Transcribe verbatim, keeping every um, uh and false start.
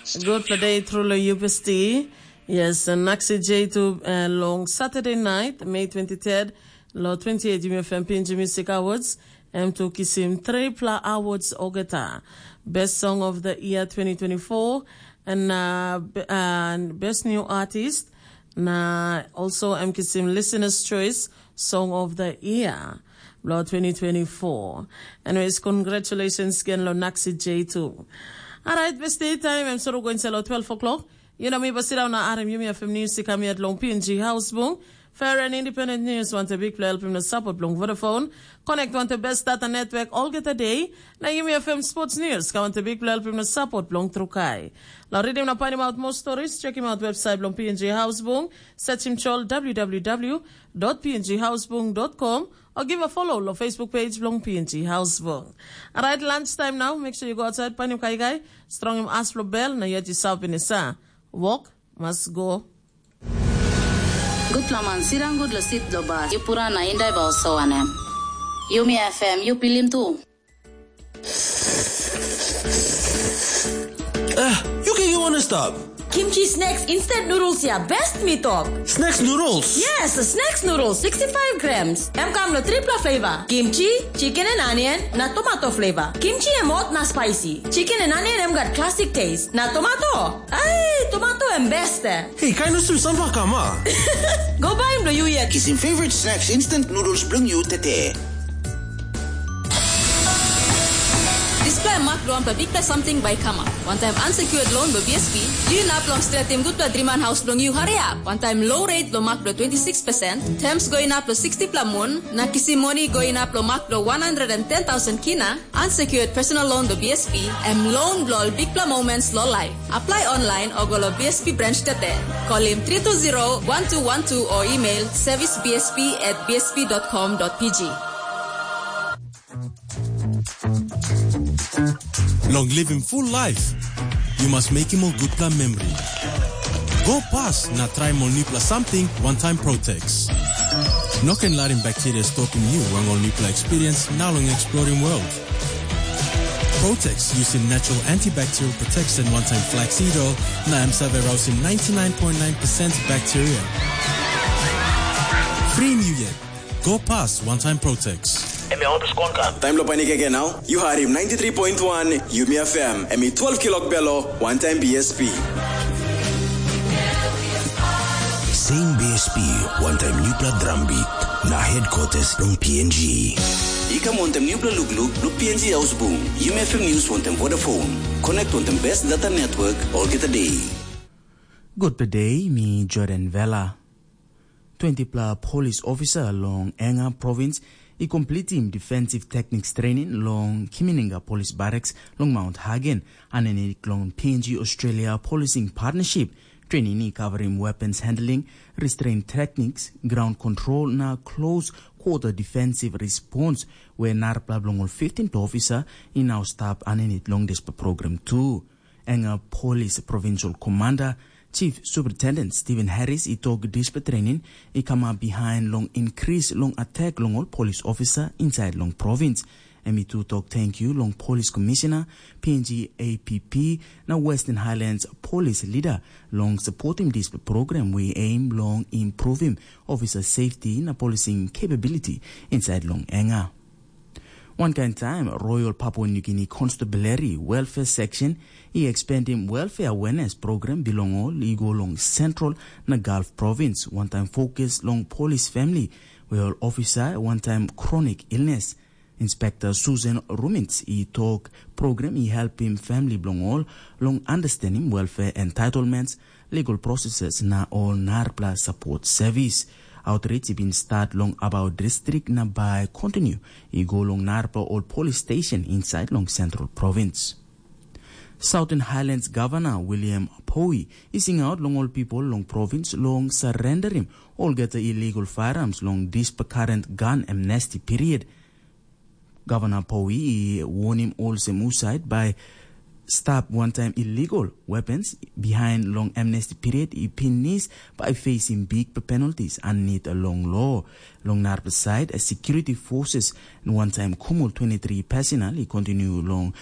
Good for day, truly U B S T. Yes, and Naxi J two uh, long Saturday night, May twenty-third, lo twenty-eight Jimmy F M P N G Music Awards, M two Kisim Triple Awards Ogeta, Best Song of the Year twenty twenty-four, and, uh, b- and Best New Artist, na also M Kisim Listener's Choice Song of the Year, lo twenty twenty-four. Anyways, congratulations again, lo Naxi J two. Alright, best day time, I'm sort of going to lo twelve o'clock. You know me, but sit down now, R M U M F M News, to come here long P N G House Bung. Fair and independent news, want a big play help him the support long Vodafone. Connect want the best data network all get a day. Na U M F M Sports News, ka want a big play help him the support long Trukai. Now read him na find him out more stories, check him out website long P N G House Bung. Search him chol w w w dot p n g house bung dot com or give a follow long Facebook page long P N G House Bung. Alright, lunchtime now. Make sure you go outside, find him kai kai, strong him ass for bell, na yet you sap in the sa. Walk, must go. Gutpela man sirang gut lo sit lo bas. Yu pura na indai ba oso wanem. Yumi F M, yu pilim tu. Ah, you can you wanna stop. Kimchi snacks instant noodles ya best mi tok. Snacks noodles. Yes, snacks noodles sixty-five grams. Em kam lo tripla flavor. Kimchi, chicken and onion, na tomato flavor. Kimchi em hot na spicy. Chicken and onion em gat classic taste. Na tomato. Ai, tomato em best eh. Hey, kind of some sambal kama. Go buy him lo you yet. Kisim favorite snacks instant noodles bilong you tete. Dispela em mak bilong wanpela bikpela samting bai i kamap. Wantaim unsecured loan bilong B S P, yu inap long stretim gutpela driman haus bilong yu hariap. Wantaim low rate bilong mak bilong twenty-six percent, terms go inap long sixty-pela mun, na kisim moni go inap long mak bilong one hundred and ten thousand kina, unsecured personal loan bilong B S P, em loan bilong ol bikpela moments long life. Apply online o go long B S P branch tete. Kolim three two zero one two one two o email service B S P at B S P dot com dot P G. Long living full life, you must make him a good plan memory. Go pass na try mol nipla something one time Protex. No can larim bacteria stop in you wang ol nipla experience now long exploring world. Protex using natural antibacterial protection one time flaxseed oil na em save rousing ninety-nine point nine percent bacteria. Free in you yet. Go pass one time Protex. Em ya oto skon ka. Taim lo painik again now, you heard him ninety-three point one Yumi F M, em i twelve kilok belo, one time B S P. Same B S P, one time newpla drum beat, na headquarters long P N G. I kam wantaim newpla lukluk lo P N G Ausbung, Yumi F M News wantaim Vodafone. Connect wantaim best data network, all get a day. Good day, mi Jordan Vela. Twenty-pla polis ofisa long Enga provins i komplitim defensive techniques training long Kimininga Polis Barracks long Mount Hagen, aninit long P N G Australia Policing Partnership. Training i covering weapons handling, restraint techniques, ground control na close quarter defensive response, where narapla bilong ol fifteen officer i now stap aninit long dispela program too. Enga Police Provincial Commander, Chief Superintendent Stephen Harris i tok dispela training i kamap behind long increase long attack long ol police officer inside long province. Em i tu tok thank you long Police Commissioner, P N G A P P, na Western Highlands Police Leader long supporting dispela program we aim long improving officer safety na policing capability inside long Enga. Wankain taim Royal Papua New Guinea Constabulary Welfare Section i expandim welfare awareness program bilong ol i go long Central na Gulf Province, wantaim fokus long polis famili, we ol ofisa wantaim chronic illness. Inspekta Susan Rumins i tok program i helpim famili bilong ol long understandim welfare entitlements, legal processes na ol narapela support service. Outreach i bin start long about district na bai continue i go long narapela ol police station inside long Central Province. Southern Highlands Governor William Poi i singaut long ol people long province long surrenderim olgeta illegal firearms long dispela current gun amnesty period. Governor Poi i warning olsem usaid by stop one-time illegal weapons behind long amnesty period i pinis by facing big penalties and need a long law. Long narapla side, a security forces and one-time Kumul twenty-three personnel i continue long